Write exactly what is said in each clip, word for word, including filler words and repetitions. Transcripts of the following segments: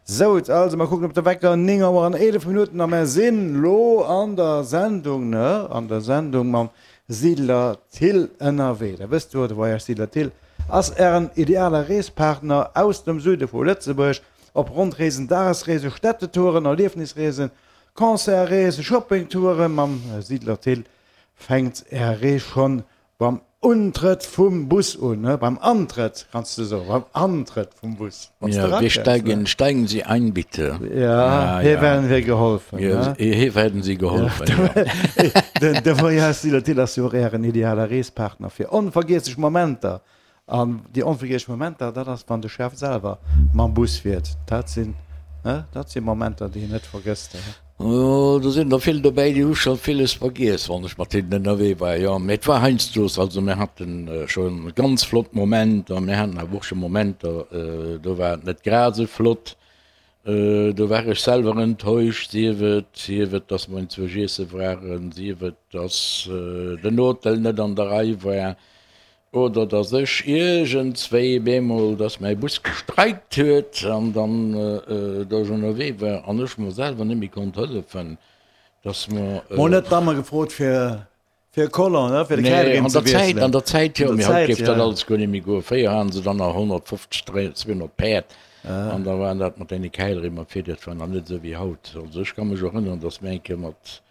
Sou, also mer kucken op de Wecker, néng Auer an eelef Minutten a mer sinn lo an der Sendung, ne, an der Sendung mam Siedler Thill ënnerwee. Da wësst jo, de Voyage Siedler Thill ass ären ideale Reespartner aus dem Süde vu Lëtzebuerg op Rondreesen, Dagesreesen, Städtetouren, Erliefnisreesen, Concertreesen, Shoppingtouren. Mam Siedler Thill fänkt är Rees schonn beim Untrëtt vum Bus un, ne? Beim Antrëtt, kanns de soen, beim Antrëtt vum Bus. Wann s de Ja, wir erakënns, ne? steigen, steigen Sie ein, bitte. Ja, Ja, hier ja. werden wir geholfen, Hier, ne? hier werden Sie Ja, geholfen, ja. den, de Voyage Siedler Thill ass jo och ären ideale Reespartner fir onvergiesslech Momenter. An déi onvergiesslech Momenter, dat ass, wann de Chef selwer mam Bus fiert. Dat sinn, ne, dat si Momenter, déi een net vergësst, ne? Oh, do sinn der vill dobäi, déi hu scho villes vergiess, wann ech mat hinnen ënnerwee war. Jo, mee et war heiansdo, also mir haten scho ganz flott Momenter, mir haten awer och scho Momenter, do war et net grad esou flott. Do war ech selwer enttäuscht, sief et, sief et, dass mer enzwousch iesse waren, sief et, dass den Hotel net an der Rei war. Oder dass ech iergendswéi bemol, dass mäi Bus gestreikt huet an dann do ech ënnerwee war an ech mer selwer net méi konnt hëllefen, dass mer. Mol net d'Damme gefrot fir fir e Collant, ne, fir de Nee, Käl an erëm ze der Zäit, an wiesselen. der Zäit An jo, der mee haut Zäit, géif dat ja. alles guer net méi goen. Fréier haten se dann nach honnertfofzeg, dräi, zweehonnert Päerd an da waren dat mat deene Käilrimm a fir, dat war nach net esou wéi haut. Also ech ka mech erënneren, dass mir eng Kéier mat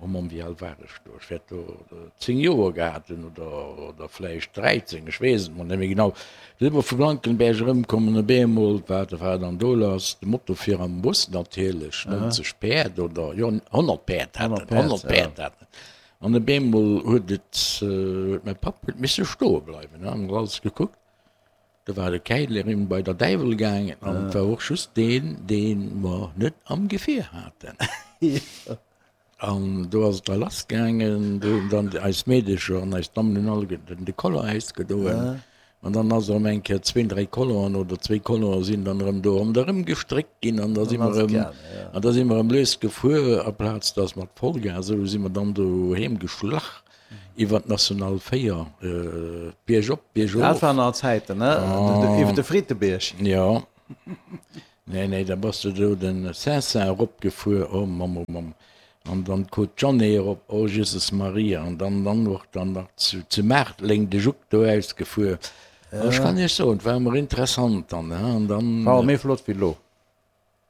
Oh Mamm, wéi al war ech do? Ech wäert do zéng Joer gehat hunn oder, oder vläicht dräizéng, ech weess et mol net méi genau. Du si mer vu Blankenberg erëmkomm an op eemol, wat war dann do lass? De Moto vir am Bus natierlech, nonzeg Päerd oder, jo, honnert Päerd hat en, honnert Päerd hat en. An op eemol huet et, huet mäi Papp huet misse stoe bleiwen, an huet alles gekuckt. Do war de Käilerin bei der Däiwel gaangen an et war och just deen, dee mer net am Gefier haten. An do ass et da lass gaangen, do hunn dann eis Meedecher an eis Dammen hunn alleguerten de Collant ausgedoen. An dann ass erëm eng Kéier zwee, dräi Collanten oder zwee Collanten sinn dann erëm do ronderëm gestréckt ginn an da si mer erëm, an da si mer erëm lues gefuer, aplaz dass mat Vollgas, esou si mer dann do heem geschlach iwwer d'National véier, biergop, biergof. Dat waren nach Zäiten, ne? Iwwer de Fridebierg. Jo. Nee, nee, da bass de do den Saint-Saint eropgefuer, oh Mamm, oh Mamm, an dann d'Côte Jeanne erop, oh Jesus Maria, an dann dann och dann nach zu zu Maartleng de Juck do ausgefuer. Also ech kann Iech soen, et war ëmmer interessant dann, he, an dann. War och méi flott wéi elo.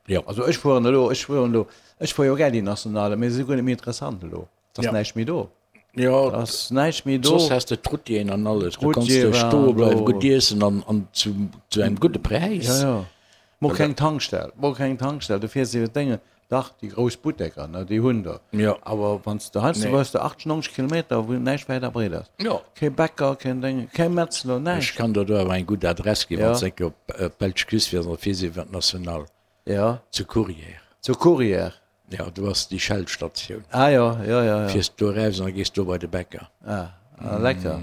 Jo. Also ech fueren elo, ech fueren elo, ech fuer jo gär déi Nationale, mee se si guer net méi interessant elo, et ass näischt méi do. Jo, Et ass näischt méi do. Soss has de d'Routieren an alles, do kanns D'Routier de waren stoe bleiwen, do. gutt iessen an an zu zu engem gudde Präis. Jo, jo. Mol keng Tankstell, mol keng Tankstell, du fiers iwwer d'Dénge, dach déi grouss Butteker, ne, déi hunn der. Jo. Awer wann s de heiansdo Nee. hues de achtzeg, nonzeg Kilometer, wou näischt wäit a breet ass. Jo. Kee Bäcker, keen Dénge, kee Metzler, Ech näischt. kann der do awer eng gutt Adress ginn, wann Jo. s de eng Kéier op d'belsch Küst fiers an da fiers iwwer d'National Jo. zu Courrières. Zu Courrières. Jo, do ass déi Shell-Statioun. Ah jo, jo, jo, jo. Fiers do eraus an da gees do bei de Bäcker. Ah, ah lecker.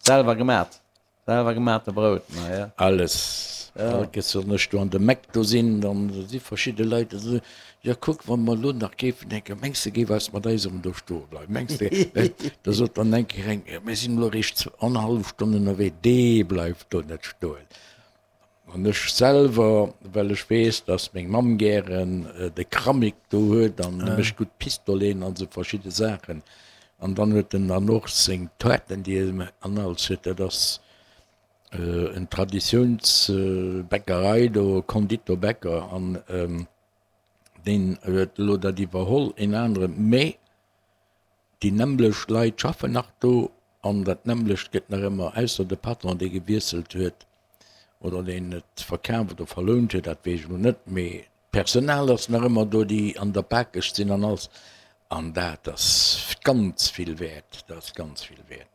Selwer gemat. Selwer gemate Brout, na ja. Alles. All Kéiers wann ech do an de McDo sinn, dann si verschidde Leit, déi soen, jo kuck, wa mer elo nach géifen eng Kéier, mengs de géif eis mat eis erëm do stoe bleiwen, mengs de? Da sot dann eng Kéier eng, jo mir sinn elo eréischt annerhallef Stonn ënnerwee, dee bleift do net stoen. An ech selwer, well ech weess, dass meng Mamm gären de Kramik do huet an e mécht gutt Pistoleten an esou verschidde Saachen. An dann huet en dann och seng Toarten, déi e an alles huet. Dat ass en Traditiounsbäckerei do, Konditorbäcker. An deen huet elo dat iwwerholl, een aneren. Mee déi nämmlecht Leit schaffen nach do an dat nämmlecht gëtt nach ëmmer, ausser de Patron, dee gewiesselt huet oder deen et verkaf oder verlount huet, dat weess ech elo net, mee d'Personal ass nach ëmmer do, déi an der Bakesch sinn an alles. An dat ass ganz vill wäert, dat ass ganz vill wäert.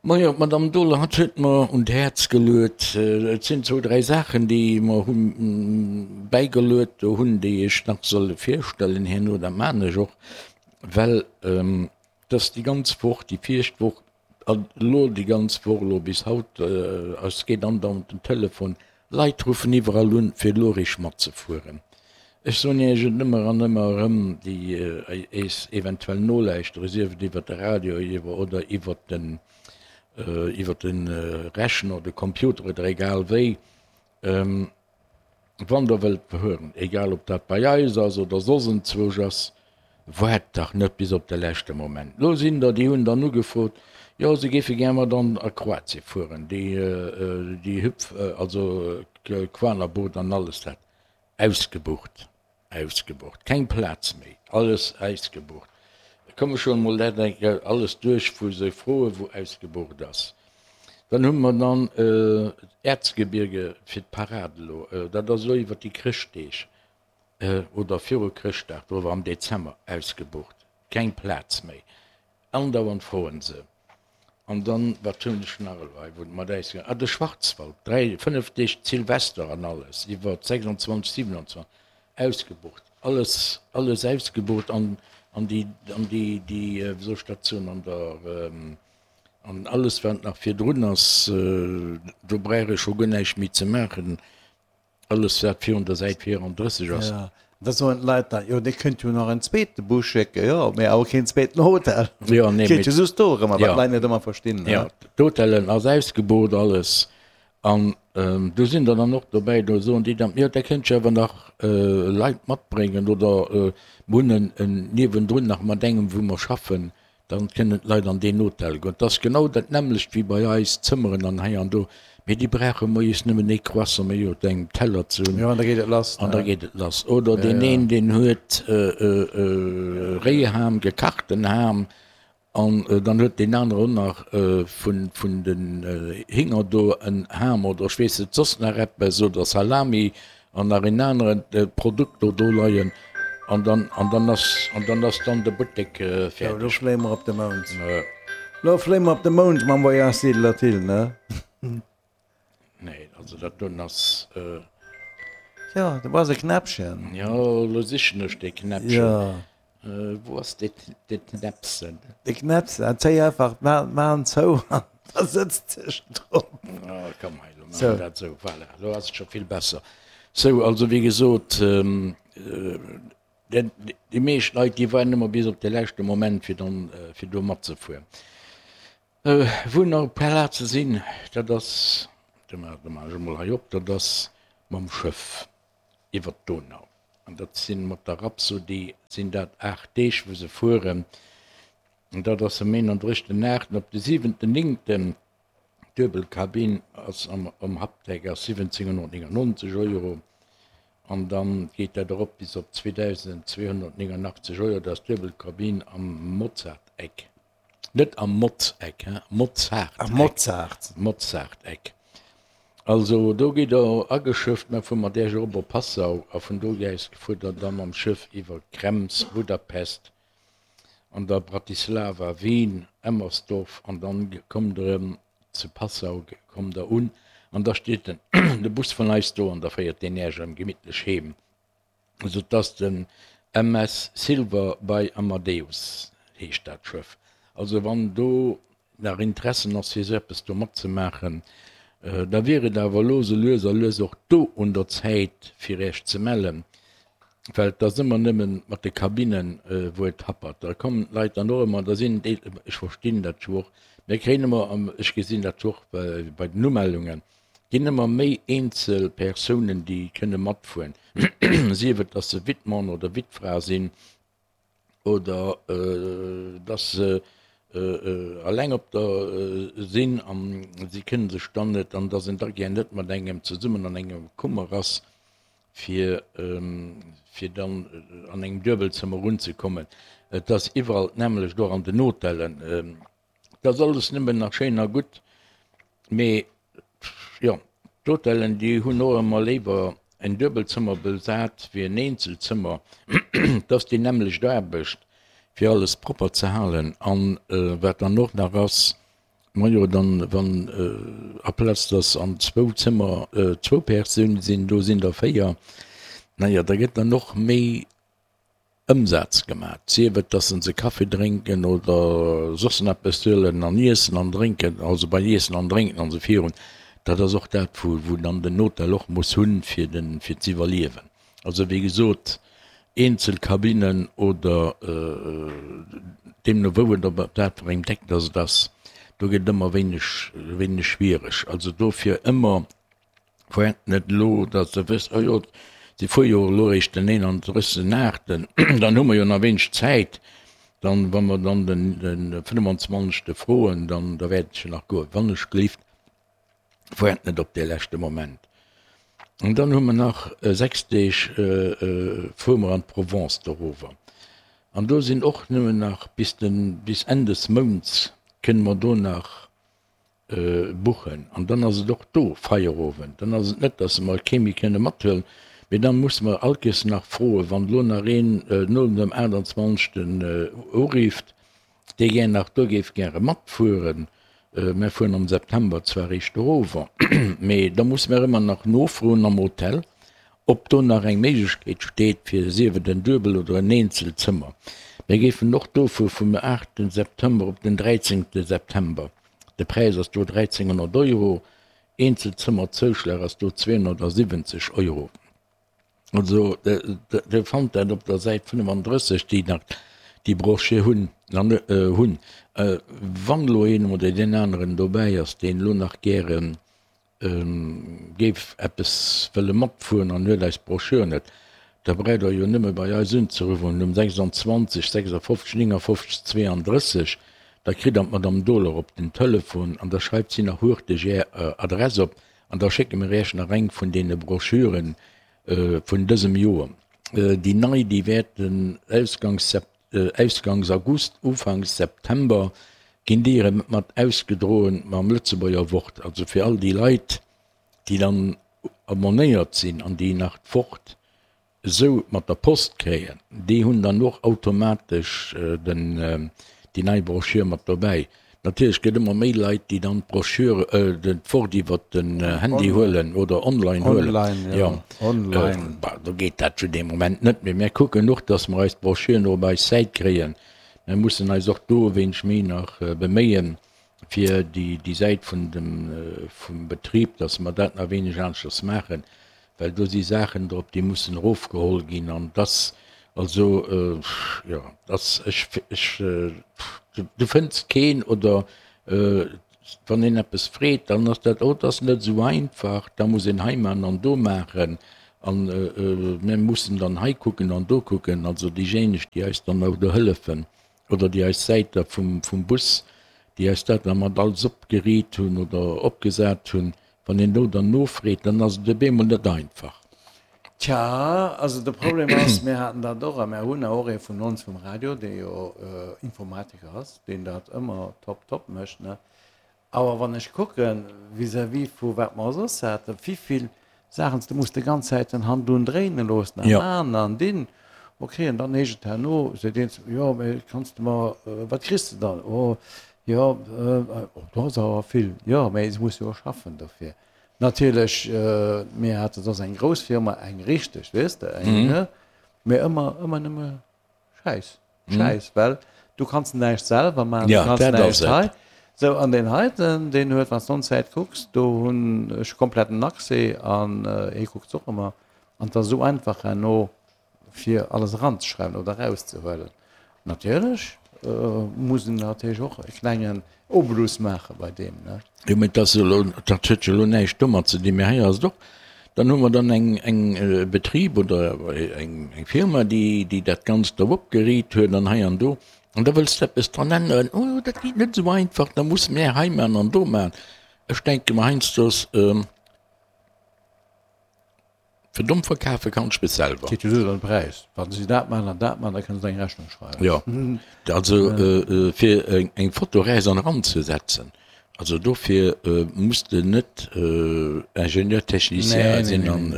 Majo, d'Madame Dohler, hatt huet mer un d'Häerz geluet, et sinn zwou, dräi Saachen, déi mer hu bäigeluet do hunn, déi ech nach soll virstellen herno, dat maachen ech och, well dass déi ganz Woch, déi viregt Woch an elo déi ganz Woch, elo bis haut, es geet andauernd den Telefon, Leit ruffen iwwerall un, fir elo eréischt matzefueren. Ech soen Iech et ëmmer an ëmmer erëm, déi eis eventuell nolauschteren, sief et iwwer de Radio oder iwwer den, iwwer de Rechner, de Computer oder egal wéi, Wann Der wëllt fueren, egal ob dat bei eis ass oder soss enzwousch ass, waart dach net bis op de leschte Moment. Lo sinn der, déi hunn dann ugefrot, jo se géife gär mat an a Kroatie fueren, déi déi Hüpf, also Kvanerboot an alles dat. Ausgebucht, ausgebucht, keng Plaz méi, alles ausgebucht. Komme schon emol dat eng Kéier alles duerch, wou se froen, wou ausgebucht ass. Dann hu mer dann d'Erzgebirge fir d'Parade elo, dat ass elo iwwert déi Chrëschtdeeg oder viru Chrëschtdag, do am Dezember, ausgebucht, keng Plaz méi. Andauernd froen se. An dann, wat hunn ech nach elo hei, wou et mat äis gaangen, ah, de Schwarzwald, dräi, fënnef Deeg Silvester an alles, iwwer sechsundzwanzeg, siewenundzwanzeg, ausgebucht, alles, alles ausgebucht an, an déi, an déi, déi, wéi soll ech dat soen, an der, an alles wat nach virdrun ass, do brauch ech scho guer näischt méi ze maachen. Alles wat virun der Säit vierunddrësseg ass. Ja, da soen d'Leit dann, jo dir kënnt jo nach en zweete Bus schécken, jo, mee awer keen zweeten Hotel. Jo, nee, Geet jo just do erëm, wat ja. d'Leit net ëmmer verstinn, ne? Ja, d'Hotellen ass ausgebucht alles an do sinn der dann och dobäi, do soen déi dann, jo der kënnt jo awer nach Leit matbréngen oder mir hunn en en niewendrun nach mat engem wou mer schaffen, Dann kënnen d'Leit an deen Hotel goen. Et ass genau dat nämmlecht wéi bei eis, Zëmmeren an hei an do. Mee déi brauche moies nëmmen ee Croissant méi op engem Teller ze hunn. Jo, an da geet et lass, An da ne? geet et lass. Oder Ja, deen ja. een, deen huet Réiham, gekachten Ham, an dann huet deen anere och nach vun, vun den Hinger do en Ham oder ech weess net soss nach eppes oder Salami an nach een aneren Produkt do do leien. An dann, an dann ass, an dann ass dann de Buttek Lo fäerdeg. fléie mer op de Mound. Lo fléie mer op de Mound mam Voyage Siedler Thill, ne? Nee, also dat doen ass. Jo, do ass e Knäppchen. Jo, lo sichen ech dee Knäppchen. Jo. Wou ass dee, dee Knäppchen? De Knäppchen, zéi einfach d'Maen zou an da sëtzt sech drop. Ah, komm hei, lo maache mer dat esou. Voilà, lo ass et scho vill besser. Sou, also wéi gesot, déi meescht Leit, déi waarden ëmmer bis op de leschte Moment, fir dann, fir do matzefueren. Wou nach e puer Plaze sinn, dat ass, do maache ech emol hei op, dat ass mam Schëff iwwert d'Donau. An dat si mat der Rhapsody sinn dat aacht Deeg, wou se fueren. An dat ass vum eenandrëschten aachten op de siwenten néngten. D'Duebelkabinn ass am Hapdeck ass siwwenzénghonnertnéngannonzeg Euro an dann geet dat erop bis op zweedausendzweehonnertnéngannachtzeg Euro. Dat ass d'Duebelkabinn am Mozart-Eck, net am Motz-Eck, hein, Mozart-Eck, Mozart-Eck. Also do gitt Der ageschëfft, mä vu mat Iech erop op Passau a vun do aus fuert Der da mam Schëff iwwer Krems, Budapest an da Bratislava, Wien, Emmersdorf an dann kommt Der erëm zu Passau kommt Der un an da steet den de Bus vun eis do an da féiert deen Äech erëm gemittlech heem. Also et ass den M S Silver by Amadeus heescht dat Schëff. Also wann do nach Interessen ass fir esou eppes do matzemaachen, da wier et awer elo sou lues a lues och do un der Zäit fir Äech ze mellen. Well et ass ëmmer nëmme mat de Kabinnen, wou et happert. Da kommen d'Leit dann och ëmmer, da sinn déi, ech verstinn dat jo och, mir kréien ëmmer, ech gesinn dat jo och bei den Umellungen, ginn ëmmer méi eenzel Persounen, déi kënne matfueren, sief et, dass se Wittmann oder Wittfra sinn oder dass se eleng op der sinn a si kënne sech dann net, an dass een da gär net mat engem zesummen an engem Kummer ass. fir fir dann an engem Duebelzëmmer unzekommen. Et ass iwwerall d'nämmlecht, och an den Hotellen. Et ass alles nëmmen nach schéin a gutt, mee jo, d'Hotellen, déi hunn och ëmmer léiwer en Duebelzëmmer besat wéi en Eenzelzëmmer. Et ass déi nämmlecht Aarbecht, fir alles propper ze halen. An wat dann och nach ass, Majo, dann, wann aplaz dass an zwou Zëmmer zwou Persoune sinn, do sinn der véier, naja, da gëtt dann och méi Ëmsaz gemat, sief et, dass se se Kaffi drénken oder soss nach eppes huelen an iessen an drénken, also bei Iessen an Drénken an esou virun. Dat ass och dat, wou, wou dann den Hotel och muss hunn, fir den, fir z'iwwerliewen. Also wéi gesot, eenzel Kabinnen oder deemno wou et op wat fir engem Deck dass et ass, do gëtt et ëmmer wéineg wéineg schwiereg. Also dofir ëmmer Fuert net elo, datt Der wësst, oh jo, si fuere jo elo eréischt den eenanddrëssegsten aachten, dann hu mer jo nach wéineg Zäit, dann, wa mer dann den fënnefenzwanzegste froen, dann da wäert et jo nach goen. Wannechgelift, fuert net op dee leschte Moment. An dann hu mer nach sechs Deeg, fuere mer an d'Provence dorower. An do sinn och nëmmen nach bis den, bis Enn des Mounts kënne mer do nach buchen. An dann ass et och do Feierowend. Dann ass et net, dass mer kee méi kënne mathuelen, mee dann musse mer all Kéiers nach froen, wann elo nach een no dem aachtanzwanzegsten urifft, dee gär nach do géif gäre matfueren. Mer fueren am September zwar eréischt erover, mee da musse mer ëmmer nach nofroen am Hotel, ob do nach eng Méiglechkeet steet fir sief et en Duebel oder en Eenzelzëmmer. Mir géifen och do fuere vum aachten September op den dräizéngte September. De Präis ass do dräizénghonnert Euro, Eenzelzëmmerzouschlag ass do zweehonnertsiwwenzeg Euro. Also Dir fannt dat op der Säit fënnefandrësseg, déi nach déi Brochure hunn. Hunn. Wann elo een oder deen aneren dobäi ass, deen elo nach gäre géif eppes wëlle matfueren an huet eis Brochure net, da braucht Der jo nëmme bei eis unzeruffen um sechsundzwanzeg sechsundfünfzig neunundfünfzig zweiunddrësseg, da kritt Der d'Madame Dohler op den Telefon an da schreift si nach hurteg Är Adress op an da schécke mir Iech nach eng vun deene Brochuren vun dësem Joer. Déi nei, déi wäerten ausgangs ausgangs August, ufanks September ginn déi erëm mat ausgedroen mam Lëtzebuerger Wort. Also fir all déi Leit, déi dann abonnéiert sinn an déi nach d'Wort esou mat der Post kréien, déi hunn dann och automatesch den, déi nei Broschür mat dobäi. Natierlech gëtt ëmmer méi Leit, déi dann d'Broschür, d'Wort iwwert den Handy huelen oder online huelen. Online, jo, online. Bah, do geet dat zu deem Moment net méi. Mär kucken och, dass mer eis d'Broschüren och op eis Säit kréien. Mär mussen eis och do e wéineg méi nach beméien, fir déi, déi Säit vun dem, vum Betrib, dass mer dat nach e wéineg aneschters maachen. Well do si Saachen drop, déi mussen erofgeholl ginn an dass also, jo, dass ech, ech, du fënns keen oder wann een eppes freet, dann ass dat, oh, dat ass net esou einfach, da muss een hei maachen an do maachen an mir mussen dann hei kucken an do kucken. Also déijéineg, déi eis dann och do hëllefen oder déi eis Säit da vum, vum Bus, déi eis dat da mat alles opgeriit hunn oder opgesat hunn, Wann een do dann nofreet, dann ass et op eemol net einfach. Tja, also de Problem ass, mir haten dat och a mir hunn och ee vun ons vum Radio, dee jo Informatiker ass, deen dat ëmmer top top mécht, ne. Awer wann ech kucke vis-à-vis vu wat mer soss haten, wivill Saachen s de muss de ganz Zäit den Hand un dréine loossen a man an dinn, ok, an dann heescht et herno, seet een zu mir, jo, mee kanns de mer, wat kriss de dann? Oh, Jo, do ass awer vill. Jo, mä se muss jo och schaffen dofir. Natierlech, mir hate soss eng grouss Firma, eng richteg, weess de, eng, ne? Mä ëmmer, ëmmer nëmme Schäiss, Schäiss, well du kanns näischt selwer maachen, du kanns näischt hei. Sou, an deen heiten, deen huet, wann s de ons Säit kucks, do hunn ech kompletten Accès an hie kuckt se och ëmmer. An et ass esou einfach herno fir alles eranzeschreiwen oder erauszehuelen. Natierlech muss en natierlech och e klengen Obolus maache bei deem, ne? Jo, mä dat ass elo, dat huet jo elo näischt domat ze dinn. Mä hei ass et och, dann hu mer dann eng, eng e Betrib oder eng, eng Firma, déi, déi dat Ganzt do opgeriit huet an hei an do. An da wëlls de eppes dran änneren, oh, dat geet net esou einfach, da musse mär hei maachen an do maachen. Ech denke mer heiansdo, Fir domm verkafe kann ech mech selwer. Geet jo just ëm de Präis. Wa si dat maachen an dat maachen, da kënne se eng Rechnung schreiwen. Jo, also fir eng Foto räis an eran ze setzen, also dofir muss de net Ingénieur technicien sinn an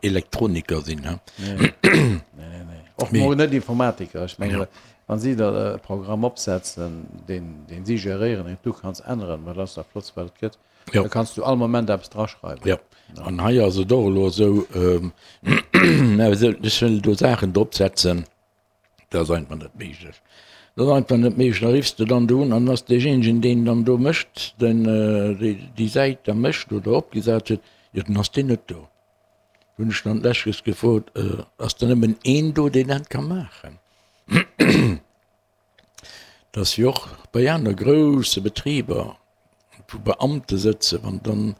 Elektroniker sinn. Nee, nee, nee. Och mol net Informatiker. Ech mengen, wa si da e Programm opsetzen, deen si geréieren, deen du kanns änneren, wat ass dat Flottst, wat et gëtt. Jo. Da kanns du all Moment eppes draschreiwen. Jo, an hei ass et och elo esou, mä ech wëll do Saachen drop setzen, dat ass einfach net méiglech. Dat ass einfach net méiglech. Da riffs de dann do un an dann ass deejéinegen, deen dann do mécht, den déi Säit da mécht oder opgesat huet, jo, dann ass deen net do. Hunn ech dann d'lescht gefrot, ass da nëmmen een do, deen dat ka maachen? Dass jo och bei aner grousse Betriber, wou Beamte sëtzen, wann dann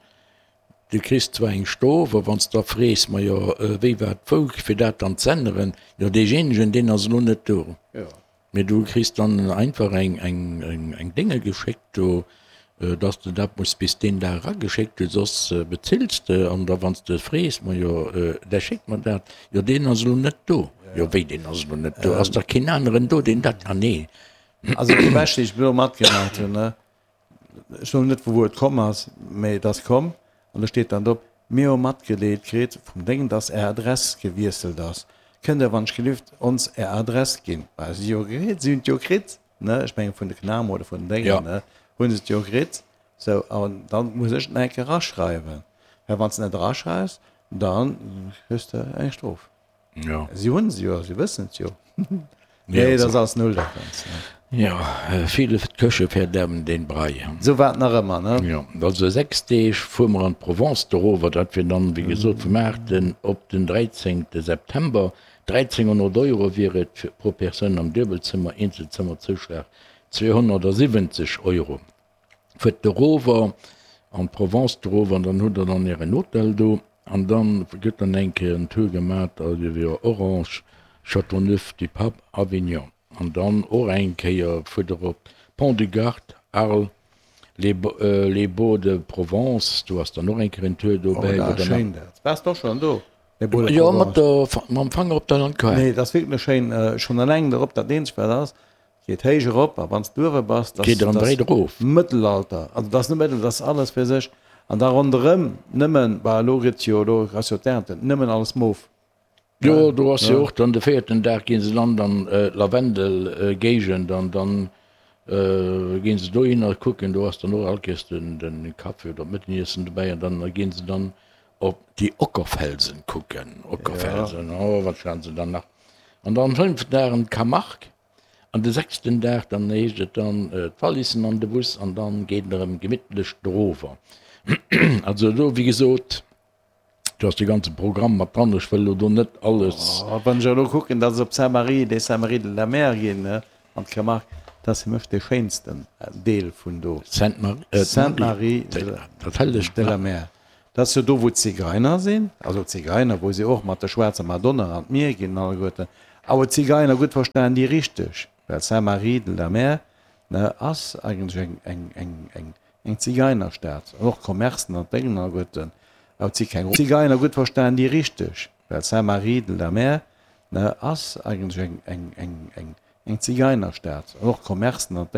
Du kriss zwar eng Strof, a wann s de da frees, majo, wéi war d'Wou, fir dat dann z'änneren, jo, deejéinegen, deen ass elo net do. Mee du kriss dann einfach eng, eng, eng, eng Dénge geschéckt do, dass de dat muss bis deen Dag erageschéckt hunn, soss bezills de. An da wann s de frees, majo, da schéck mer dat, jo, deen ass elo net do. Jo, wéi, deen ass elo net do? Ass da keen aneren do, deen dat, ah nee. Also déi bescht, déi ech bis elo matgemaach hunn, ne, ech soen net vu wou et komm ass, mee et ass komm an do steet dann drop, Mir hu matgeleet kritt vum Déngen, dass Är Adress gewiesselt ass. Kënnt Der wann ech gelift ons Är Adress ginn? Well si jo kritt, si hunn et jo kritt, ne, ech menge vun de Cnam oder vun den Déngen, ne, hu se et jo kritt. Sou, an dann muss ech et nach eng Kéier eraschreiwen, well wann s de net eraschreifs, da kriss de eng Strof. Ja. Si hunn se jo, si wëssen et jo. Nee, dat ass alles null dat Ganzt. Jo, viele Köche verderben den Brei. Sou war et nach ëmmer, ne? Jo, also sechs Deeg fuere mer an d'Provence dorower, dat wier dann, wéi gesot, vum aachten op den dräizéngte September. dräizénghonnert Euro wier et fir pro Persoun am Duebelzëmmer, Eenzelzëmmerzouschlag zweehonnertsiwwenzeg Euro. Fuert dorower an d'Provence dorower an dann hutt der dann ären Hotel do. An dann gëtt dann eng Kéier en Tour gemat iwwer Orange, Châteauneuf-du-Pape, Avignon. An dann och eng Kéier fuert der op Pont du Gard, Arles, Les les Baux de Provence, do ass dann och eng Kéier en Tour Oh, dobäi, dat wou ass der nach. schéin dat. Waars de och schonn do, Les Baux de Jo, mat Provence? der, mam Fanger op der Landkaart. Nee, dat ass wierklech schéin. Schonn eleng dorop, dat eenzegt wat ass, Geet héich erop a wann s du uewe bass, dass Geet erëm dass dréit erof. Mëttelalter, also dass net Mëttel, dass alles fir sech an da ronderëm nëmmen, bah elo gëtt jo, elo ass jo d'Ernte, nëmmen alles mof. Jo, do ass jo och dann de véierten Dag gi se dann an d'Lavendelgéigend an dann gi se dohinner kucken, do ass dann och all Kéiers den de Café oder d'Mëtteniessen dobäi an dann gi se dann op déi Ockerfelsen kucken. Ockerfelsen, oh wat schwätzen se dann nach. An dann fënneften Dag an d'Camargue. An de sechsten Dag, dann heescht et dann d'Valissen an de Bus an dann geet et erëm gemittlech dorower. Also do, wéi gesot, do ass de ganze Programm mat dran. Ech wëll elo do net alles. Oh, wann ech elo kucken, dass ech op Saint-Marie, les Saintes-Maries de la Mer ginn, ne, an d'Camargue, dat ass fir mech dee schéinsten Deel vun do. Sainte-Marie, Sainte-Marie de la Mer. Dat ass jo do, wou d'Zigeiner sinn, also d'Zigeiner, wou si och mat der schwaarzer Madonna an d'Mier ginn alleguerten. Awer d'Zigeiner, gutt verstanen, déi richteg, well Sainte-Marie de la Mer, ne, ass eigentlech eng, eng, eng, eng, eng Zigeinerstad, an och d'Commercen an d'Déngen alleguerten, awer et si keng Zigeiner, gutt verstanen, déi richteg, well Sainte-Marie de la Mer, ne, ass eigentlech eng, eng, eng, eng, eng Zigeinerstad, an och d'Commercen an d'Déngen.